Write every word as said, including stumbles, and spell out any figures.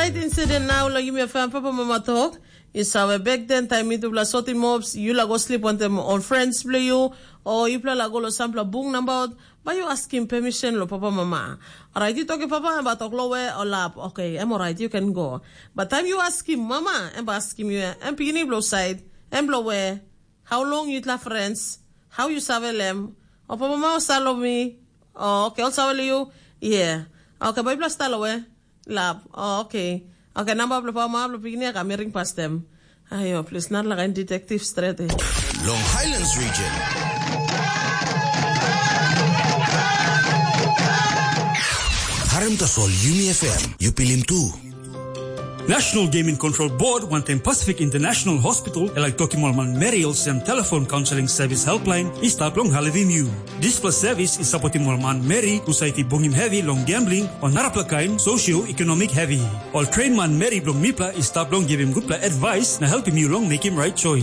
Right incident now lo yumi FM papa mama talk. You saw a back then time itu bla soti mobs, you la go sleep on them on friends play you, or you play la go lo sampla bung number out, but you ask him permission lo papa mama. Alright, you talk papa and talk lo we or lap. Okay, I'm alright, you can go. But time you ask him mama and ask him you and pigini blow side and blow where. How long you la friends? How you save lem? O papa mama salo mi. Oh, okay, also you. Yeah. Okay, baby plus talo we. Lab. Oh, okay. Okay, number of papa mama pigini ka mering pas them. Ayo, please not like detective straight. Eh. Long Highlands region. Harem tasol Yumi FM, you pilim tu. National Gaming Control Board wantaim Pacific International Hospital e laik tokim ol manmeri olsem telefon kaunseling sevis helpline i stap long helpim yu. Dispela sevis i sapotim ol manmeri husat i bungim hevi long gambling o narapela kain sosioekonomik hevi. Ol train manmeri bilong mipela i stap long givim gutpela advice na helpim yu long mekim right choice.